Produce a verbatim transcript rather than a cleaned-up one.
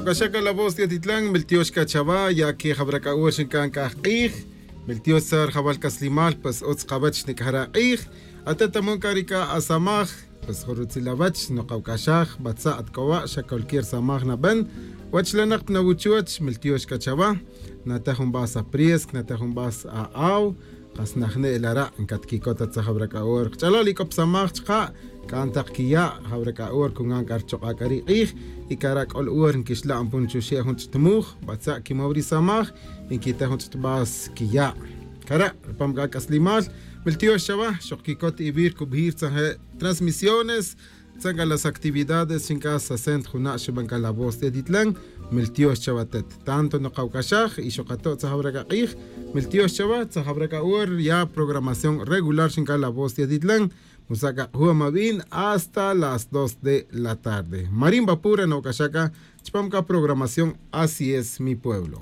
Paxa c'a la voz de atitlan miltiox c'a chawa ya que jawra c'a hora xinc'an c'a ajk'ij. Miltiox tza ri jawal c'aslimal pues utz kawech xnic'aj re ak'ij. Ate' ta mon c'a ri c'a asamaj, pues jun rutzil awech nokawc'axaj batza' at c'o wa' xa cualquier samaj naben. Wach lanak pa nawuchuwech miltiox c'a chawa. Nate' jun vas apriesc, nate' jun vas a'aw. Kas najne' lara' ncatquicot ta tza jawra c'a hora kach'alal y c'o pa samaj chaka'. C'an tak quiya' jawra c'a hora cungan c'a richok'a' c'a ri k'ij. Y cara' c'o la hora nquixla' npun chuxe' jun ch'it muj batza' quimow ri samaj. Y nquite' jun ch'it vas quiya'. Cara' rupam c'a c'aslimal miltiox chawa xok quicot ivir cubijir tzanje' transmisiones. Tzan c'a las actividades xinc'a sasent juna' xiban c'a la voz de atitlan. Miltiox chawa atet tanto nokawc'axaj y xok ato' tza jawra c'a k'ij. Miltiox chawa tza jawra c'a hora ya programación regular xinc'a la voz de atitlan. Musa' c'a k'ajuwa mabin hasta las dos de la tarde marin vapura nok'axaj c'a chupam c'a programación. Así es mi pueblo.